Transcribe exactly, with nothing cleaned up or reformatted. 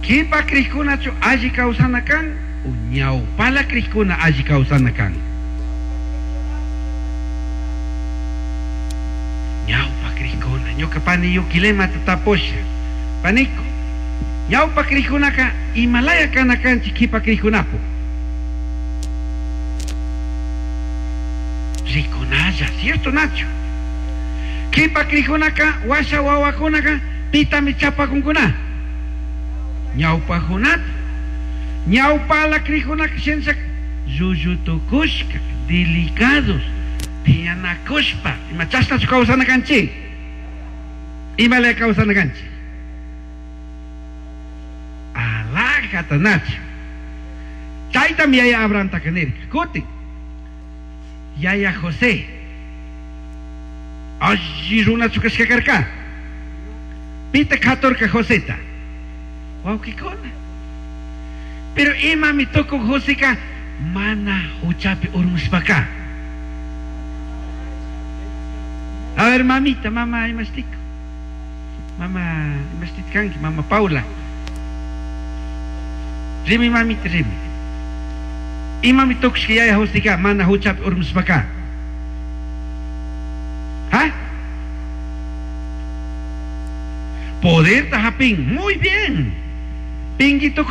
Kipa krikunachu alli kawsana kan o ñawpala krikuna alli kawsana kan. Ñawpa krikuna, ñuka pani yukilemata tapusha. Paniko, ñawpa krikunaka imalaya kana kanchik kipa krikunapu. Rikunalla, cierto Nacho? Kipa krikunaka washa wawakunaka pitami chapakunkuna. Ñawpajunata. Ñawpala krikunaka shensak llullutukushka, delicados, piñanakushpa, ima chashnachu kawsana kanchik? Imalaya kawsana kanchik? Alajata Nacho. Chaytam yaya Abrahamtaka nirka. Kutin. Yaya José. Alli runachu kashka karka. Pita katorka Joseta. Wawqikuna. Pero imami tukun Joseka mana huchapi urmushpaka. A ver, mamita, mama imastiko. Mama imastit kanki, mama Paula. Rimi mamita, rimi. Imami tukushka yaya Joseka mana huchapi urmushpaka. ¿Ah? Poder tajapín, muy bien. Pinguito